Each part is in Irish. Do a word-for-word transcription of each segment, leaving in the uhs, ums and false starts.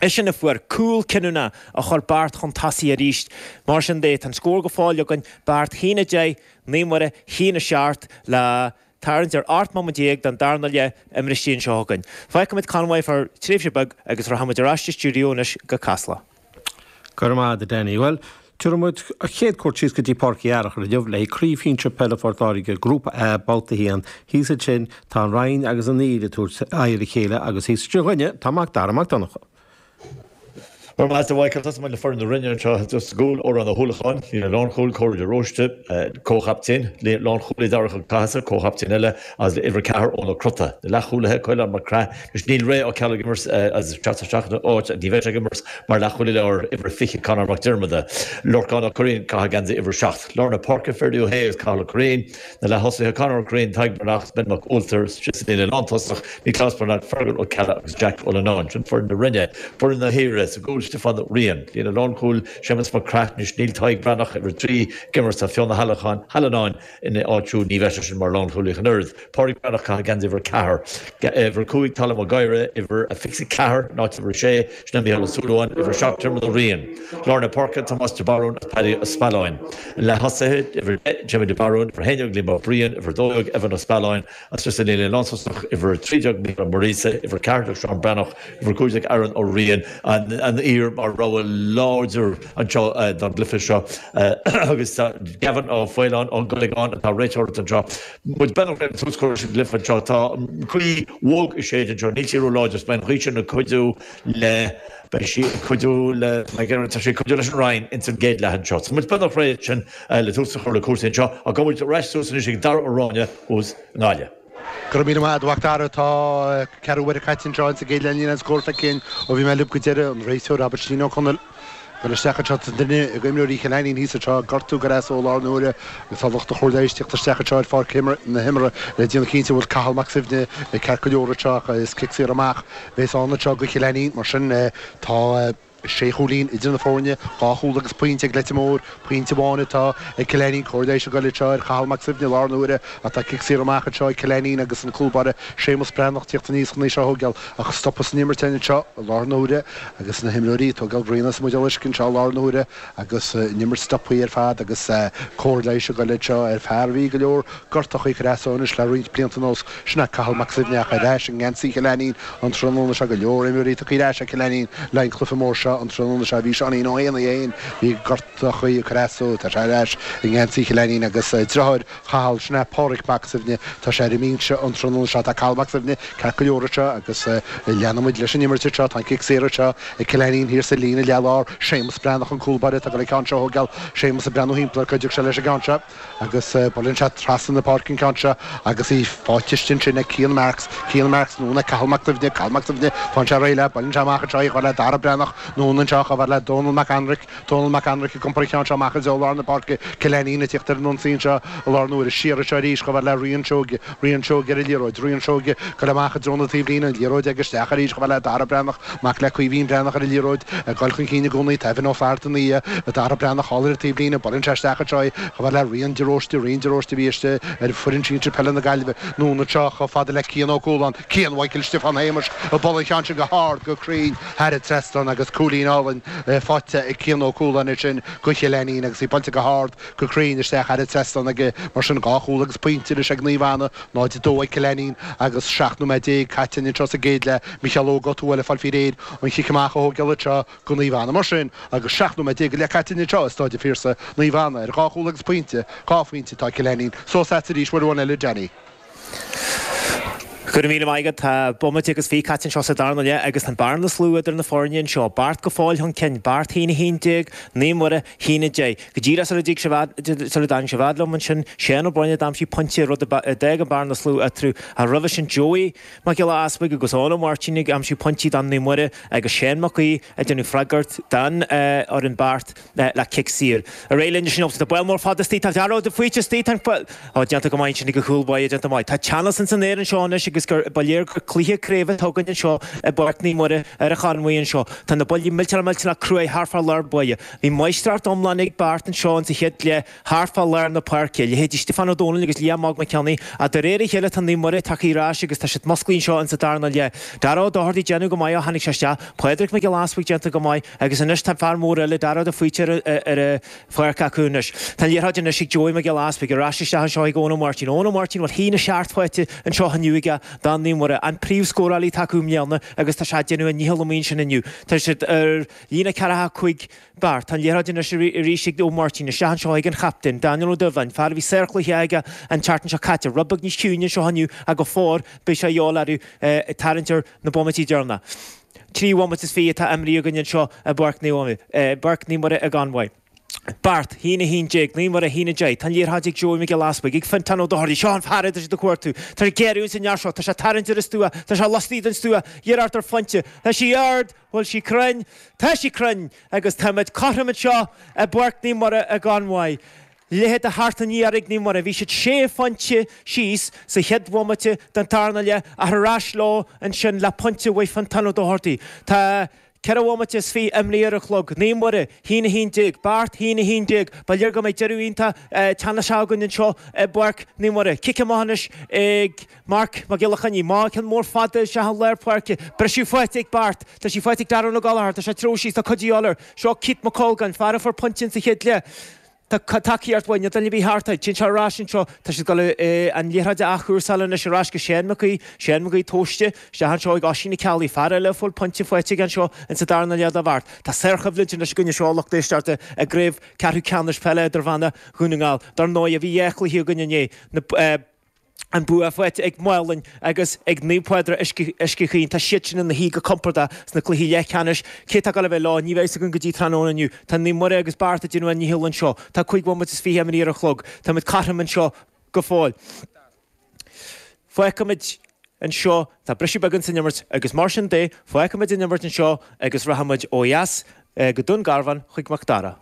Eisean a fuair cúl cinniúnach a chuir Beart chun tosaigh arís. Mar sin de, tá an scór go fóill againn, Beart a haon a deich, Naomh Muire a haon a seacht le tarraingt ar ocht mbomaite déag den darna leath imeartha anseo againn. Fágfaimid Conway fá tréimhse beag agus rachaimid ar ais sa stiúideo anois go Casla. Go raibh maith agat Danny. Well, Tuairmuid a chéad cuairt síos go dtí Páirc Uí Fhearchair inniu le Craobh Shinsir Peile Phort Láirge Grúpa A babhta haon thíos ansin tá an Rinn agus an Fhíl ag tabhairt aghaidh ar a chéile agus thíos sa gcoinne tá Mac Dara Mac Donncha. Mar Master Michael tá le foireann na Rinne anseo just gúil ó an na húlacháin ní lánchúil Cóir de Róiste comhchaptaen lánchúlaí Darach Cathasaigh comhchaptaen eile as uimhir ceathair óna crota. Na leathchúlaithe Coileán Mac Craith is níl ré á ceall imirt as teach áit ní bheidh ag imirt mar leathchúlaí ar uimhir fiche Conor Mac Diarmada. Lorcán Ó Curraoin caitheamh geansaí uimhir seacht. Lár na páirce Ferdiú Hayes Cathal Curraoin na leath-thosaithe Conor Curraoin Tadhg Breathnach Ben Mac Ualtar si le lántosach Nioclás Bernard Fergal Ó Ceallaigh agus Jack O'Lenáin sin foireann na Rinne foireann na hÉire sa gcúl Stefan Rian lína lánchúil Seamus Mac Craith níl Tadhg Breathnach uimhir trí ag imirt Fiona Halachan Halanáin ina áitiú ní bheidh sin mar lánchúlaí an oiread. Pádraig Breathnach caitheamh geansaí uimhir ceathair. Uimhir cúig Tala Maguire uimhir a fiche ceathair ná uimhir sé sin Micheál Ó Súilleabháin uimhir seacht Diarmuid Ó Riain. Lár na páirce Tomás de Barún Paddy Ó Spealáin. Leath-thosaithe uimhir Jimmy de Barún uimhir haon déag Liam Ó Briain uimhir dó dhéag Evan Ó Spealáin agus sa líne lántosach uimhir trí déag Micheál Maurice uimhir ceathair Seán Breathnach uimhir cúig déag Aaron Ó Riain an an Fhír mar rogha láidir anseo don gcluiche seo agus Gavin Ó Faoláin ón Gulligan atá réiteoir anseo. Muid ben tús chur sin gcluiche anseo tá gaoth bhog ag séideadh anseo níl sí ró-láidir beidh an ghaoth sin ag cuidiú le beidh sí ag cuidiú le tá sé cuidiú leis an Rinn ins an gcéad leath anseo. So muid beagnach réidh sin le tús a chur le cúrsaí anseo a go bhfuil reis suas anois ag Dara Ó Ráinne thuas i nGaillimh. Go raibh míle maith agat a Mhac Dara tá ceathrú uaire caite anseo sa gcéad leath níl aon scór feicthe ó bhí mé libh go deireadh an réiteoir Robert Ó Conaill. Gur isteach anseo duine ag imreoirí Chill Ainnín thíos anseo gortú go as ó lár na huaire agus tá lucht an chóir leighis teacht isteach anseo ar pháirc na himeartha le déanamh cinnte bhfuil Cathal Mac Suibhne ceart go leor anseo is cic saor amach bhéas ann anseo go Chill Ainnín mar sin tá sé chúilín idir na foirne dhá chúl agus pointe ag Leitir Móir pointe amháin atá ag Cill Ainnín cóir leighis ag goil anseo ar Chathal Mac Suibhne lár na huaire atá cic saor amach anseo ag Cill Ainnín agus an cúl báire Séamus Breathnach teacht aníos chun í seo a thógáil ach stopadh san imirt anseo lár na huaire agus na himreoirí tógáil grian as muid uisce anseo lár na huaire agus an imirt stoptha ar fad agus cóir leighis ag goil anseo ar fear bhí go leor gortachaí creasónis le roinnt blianta anuas sin Cathal Mac Suibhne ach ar ais i ngeansaí Chill Ainnín an tráthnóna seo go leor imreoirí tagtha ar ais ag Cill Ainnín le an cluiche mór seo an tráthnóna seo bhí Seáinín Ó hÉanaí féin bhí gortachaí creasó tá sé ar ais i ngeansaí Chill Ainnín agus deartháir Chathal sin Pádraig Mac Suibhne tá sé ar an mbinse an tráthnóna seo tá Cathal Mac Suibhne ceart go leor seo agus leanaimid leis an imirt seo tá cic saor seo ag Cill Ainnín thiar sa líne leathlár Séamus Breathnach an cúl báire tá go le ceann seo thógáil Séamus ag breathnú timpeall cuideoidh sé leis an gceann seo agus buaileann sé trasna na páirce an ceann seo agus í faighte ansin ag Cian Marks Cian Marks nó na Cathal Mac Suibhne Cathal Mac Suibhne fán sé réile buaileann sé amach anseo le Dara Breathnach nó anseo chomh le Donald Mac Anric Donald Mac Anric ag iompar an ceann seo amach i lár na páirce Cill Ainnín ag teacht ar an ionsaí seo i lár na huaire siar seo arís chomh le Rian Seoige Rian Seoige ar an liathróid Rian Seoige go amach i dtreo na taobhlíne an liathróid ag isteach arís chomh le Dara Breathnach mac le Caoimhín Breathnach ar an liathróid ag dul chun cinn i gcónaí Taibhin Ó Flatharta Dara Breathnach thall ar an taobhlíne buaileann sé isteach anseo chomh le Rian de Róiste Rian de Róiste bhí istigh ar foireann sinsir peile na Gaillimhe nó na seo chomh fada le Cian Ó Cualáin Cian Michael Stiofán Shéamais a buaileann an ceann sin go hard go cruinn thar an trasnán agus cúilín álainn faighte ag Cian Ó Cualáin sin go Chill Ainnín agus í buailte go hard go cruinn isteach thar an trasnán aige mar sin dhá chúl agus pointe leis ag Naomh Anna náid dó ag Cill Ainnín agus seacht nóiméad déag caite anseo sa gcéad leath Micheál Óg Ó Tuathail fáil faoi réir an chic amach a thógáil seo go Naomh Anna mar sin agus seacht nóiméad déag le caite anseo i Staid an Phiarsaigh Naomh Anna ar dhá chúl agus pointe dhá phointe tá Cill Ainnín suas arís uair eile Danny. Go míle maith tá bomaite agus fiche caite anseo sa darna leath agus an bearna is lú idir na foirne anseo. Beart go fóill chun cinn Beart haon a haon déag Naomh Muire haon a deich. Go díreach sar a dtáinig sibh fhad liom ansin Séan Ó Broin a d'aimsigh pointe rud a d'fhág an bearna is lú eatarthu a roimhe sin Joey Mac Giolla Easpaig agus Eoin Ó Máirtín ag aimsiú pointí don Naomh Muire agus Séan Mac Aoidh ag déanamh freagairt don ar an Beart le cic saor. A ré linn sin tá buil mór fada istigh tá dearó de faoite istigh tá déanta go maith sin go chúlbhaid déanta maith. Tá teannas san aer anseo anois agus agus gur ba léir gur cluiche craoibhe atá againn anseo i bPáirc Naomh Muire ar an Charn anseo. Tá na buillí millteanach millteanach cruaidh thart fá lár báire. Bhí máistreacht iomlán ag Beart anseo insa chéad leath thart fá lár na páirce, leithéidí Stiofán Ó Dónaill agus Liam Óg Mac Cionnaith, ach de réir a chéile tá Naomh Muire tagtha ar ais agus tá siad musclaithe anseo insa darna leath. Dara Ó Dochartaigh ag déanamh go maith ó tháinig sé isteach, Pádraig Mac Giolla Easbuig déanta go maith agus anois tá fear mór eile, Dara de Faoite ar an pháirc acu anois. Tá an liathróid anois ag Joey Mac Giolla Easbuig ar ais isteach anseo ag Eoin Ó Máirtín. Eoin Ó Máirtín bhfuil haon a seacht faighte anseo inniu aige do Naomh Muire, an príomhscórálaí atá acu i mbliana agus tá sé ag déanamh a ndícheall amuigh ansin inniu. Tá siad ar líne ceathracha cúig Beart. Tá an liathróid anois arís ag Ó Máirtín isteach anseo ag an chaptaen, Daniel Ó Dubhláin, fear a bhí sárchluiche aige an tseachtain seo caite. Rud beag níos ciúine anseo inniu ach go fóill beidh sé a dhíobháil orthu ag tarraingt ar na bomaití deireanacha. Trí bhomaite is fiche atá imrithe againn anseo i bPáirc Naomh Muire i gConmhaigh. Beart, haon a haon déag, Naomh Muire, haon a deich. Tá an liathróid ag Joey Mac Giolla Easbuig, ag Fintán Ó Dochartaigh. Seo an fear atá siad ag cuartú. Tá sé ag géarú ins an fhear seo. Tá sé ag tarraingt ar an stua. Tá sé laistigh den stua. Iarracht ar phointe. Tá sí ard. Bhfuil sí cruinn? Tá sí cruinn! Agus táimid cothrom anseo i bPáirc Naomh Muire i gConmhaigh. Leath a sheacht i ndiaidh ag Naomh Muire. Bhí siad sé phointe síos sa chéad bhomaite den tarna leath ach ar ais leo ansin le pointe uaidh Fintán Ó Dochartaigh. Tá ceithre bhomaite is fiche imrithe ar an chlog. Naomh Muire, haon a haon déag. Beart, haon a haon déag. Ba léir go mbeidh deireadh iontach teannasach againn anseo i bPáirc Naomh Muire. Cic amach anois ag Marc Mac Giolla Chainnigh. Maith, ceann mór fada isteach i lár páirce. Briseadh faighte ag Beart. Tá sí faighte ag Darren Ó Gallchóir. Tá sé ag treabhadh síos. Tá cuid de dhíobháil air. Seo Keith Mac Colgáin, fear a fuair pointe insa chéad leath. Tá tacaíocht uaidh, níl duine ar bith thart air. Téann sé ar ais anseo. Tá siad ag dul an liathróid a athchúrsáil anois ar ais go Séan Mac Aoidh. Séan Mac Aoidh tomhaiste isteach anseo ag Oisín Ó Ceallaigh, fear eile a fuair pointe faighte aige anseo insa darna leath do Bheart. Tá sárchoimhlint anois againn anseo a lucht éisteachta i gCraobh Ceathrú Ceannais Peile Idirmheánach Dhún na nGall. Dar ndóigh, bhí dhá chluiche againn inné. Na. An bua faighte ag Maigh Line agus ag Naomh Pádraig Uisce Chaoin. Tá siad sin ina shuí go compordach sna cluichí leathcheannais. Cé atá ag dul a bheith leo? Ní bheidh a fhios againn go dtí tráthnóna inniu. Tá Naomh Muire agus Beart ag déanamh a ndícheall anseo. Tá cúig bhomaite is fiche imithe ar an chlog. Táimid cothrom anseo go fóill. Fágfaimid anseo. Tá briseadh beag san imirt agus mar sin de, fágfaimid an imirt anseo agus rachaimid ó dheas go Dún Garbhán chuig Mac Dara.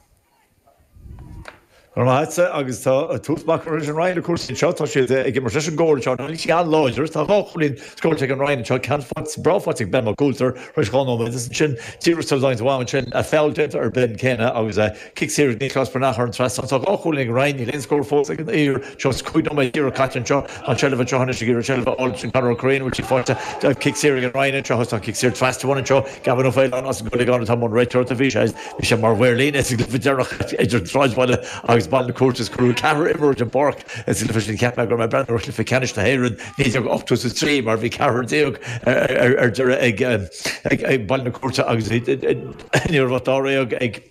Go raibh maith agatsa agus tá tús maith curtha leis an Rinn le cúrsaí anseo. Tá siad ag imirt leis an gcóir anseo. Níl sí an-láidir. Tá dhá chúilín scóráilte ag an Rinn anseo, ceann breá faighte ag Ben Mac Coulter tar éis dhá nóiméad agus ansin díreach sula dtáinig an ansin feall déanta ar Ben céanna agus cic saor ag Nioclás Breathnach ar an trasnán. Tá dhá chúilín ag an Rinn, níl aon scór fós ag an Oírr. Seo cúig nóiméad díreach caite anseo. Tá an tseilbh anseo anois ag iarraidh seilbh a fháil sin Conor Ó Curraoin, bhfuil sí faighte. Cic saor ag an Rinn anseo agus tá an cic saor trasna amháin anseo. Gavin Ó Faoláin as an gCuileagán atá i mbun réiteoireachta. Bhí sé Bhí sé mar mhaor líne sa gcluiche deireanach idir an tSráidbhaile agus Baile na Cúirte is cuireadh ceathrar imreoir den bpáirc sa gcluiche sin. Cheap mé go raibh mé ag breathnú ar chluiche ceannais na hÉireann naoi déag ochtó is a trí mar bhí ceathrar déag ar deireadh ag Baile na Cúirte agus ní raibh ach dáréag ag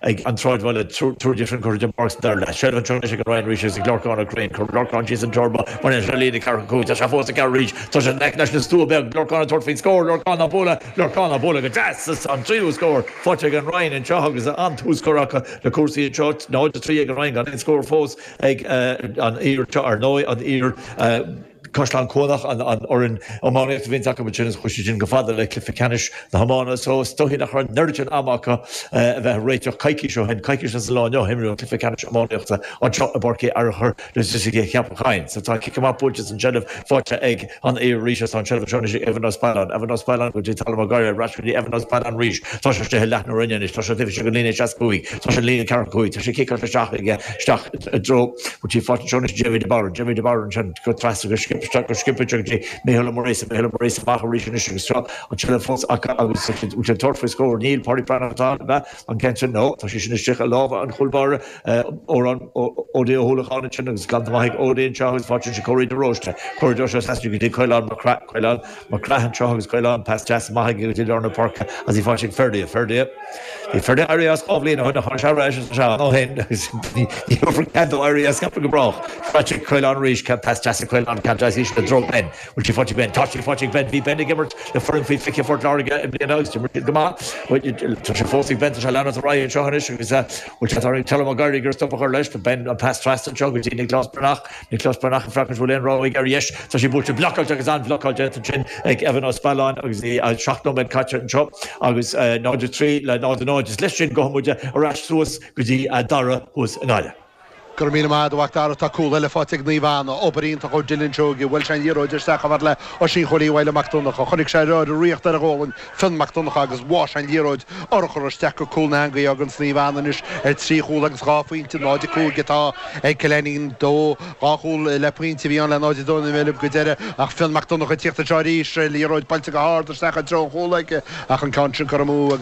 ag an tSráidbhaile. Triúr díobh sin curtha den bpáirc sa dara leath. Seilbh anseo anois ag an Rinn arís agus ag Lorcán Ó Curraoin. Cuireann Lorcán síos an turbo. Baineann sé líne ceathracha cúig. Tá sé fós ag gearradh arís. Tá sé in aice leis an stua beag. Lorcán ag tabhairt faoin scór. Lorcán á bualadh. Lorcán á bualadh go deas. Is an tríú scór faighte ag an Rinn anseo agus an-tús curtha acu le cúrsaí anseo. náid a trí ag an Rinn gan aon scór fós ag an Oírr anseo. Ar ndóigh, an Oírr, Caisleán Cuanach an fhoireann iománaíochta a bhíonns acu ansin is chuaigh siad sin go fada le cluiche ceannais na hiomána so is dóichí nach raibh an oiread sin ama acu a bheith ag réiteach coicís ó shin. Coicís as an lá inniu imríodh an cluiche ceannais iománaíochta anseo i bPáirc Uí Fhearchair le Ceapach Choinn. So tá cic amach buailte is an tseilbh faighte ag an Oírr arís agus tá an tseilbh anseo anois ag Evan Ó Spealáin. Evan Ó Spealáin go dtí Talam Ó Gadhra ar ais go dtí Evan Ó Spealáin arís. Tá sé istigh i leath na Rinne anois. Tá sé taobh istigh den líne seasca cúig. Tá sé líne ceathracha cúig. Tá sé ciceáilte isteach aige isteach i dtreo bhfuil sí faighte anseo anois Jamie de Barra. Jamie de Barra ansin go trasna go sciobtha go sciobtha go dtí Micheál Ó Muiríosa. Micheál Ó Muiríosa amach arís anois agus seo an tseilbh fós acu agus bhfuil sé ag tabhairt faoi scór. Níl Pádraig Breathnach atá ann, ab ea? An ceann sin, nó tá sé sin istigh i lámha an chúl báire. Odhrán Ó hUallacháin ansin agus glanta maith ag Ó Dé anseo agus faighte ansin Córaí de Róiste. Córaí de Róiste trasna go dtí Caolán Mac Craith, Caolán Mac Craith anseo agus Caolán pas deas maith aige go dtí lár na páirce agus í faighte ag Ferdia. Ferdia. Bhí Ferdia éirithe as dhá bhliain ó shin ach tháinig sé ar ais agus tá sé ann ó shin agus ní thabharfar cead dó éirí as ceapaim go brách. Faighte ag Caolán arís, pas deas ag Caolán, ceann deas íseal i dtreo Ben. Bhfuil sí faighte ag Ben? Tá sí faighte ag Ben. Bhí Ben ag imirt le foireann faoi fiche Phort Láirge i mbliana agus d'imir siad go maith. Tá sé fós ag Ben, tá sé ag leanacht ar aghaidh anseo anois agus bhfuil sé tar éis Colm Ó Gadhra ag iarraidh stop a chur leis. Tá Ben an pas trasna anseo go dtí Nioclás Breathnach. Nioclás Breathnach ag féachaint bhfuil aon rogha aige ar dheis. Tá sí buailte blocáilte agus an-bhlocáil déanta ansin ag Evan Ó Spealáin agus í seacht nóiméad caite anseo agus náid a trí le náid a náid. Is leis sin gabhfaidh muid ar ais suas go dtí Dara thuas i nGaillimh. Go raibh míle maith agat a Mhac Dara, tá cúl eile faighte ag Naomh Anna, obair iontach ó Dylan Seoige, bhuail sé an liathróid isteach chomh fada le Oisín Chóilí Mhaidhc Mac Donncha, chonaic sé ar a riocht ar a ghualainn Fionn Mac Donncha agus bháigh sé an liathróid urchar isteach go cúl na heangaí agus Naomh Anna anois ar trí chúl agus dhá phointe, náid a cúig atá ag Cill Ainnín, dó, dhá chúl le pointe a bhí ann le náid a dó nóiméad go deireadh ach Fionn Mac Donncha ag tíocht anseo arís, liathróid buailte go hard isteach i dtreo an chúil aige ach an ceann sin curtha amú agus.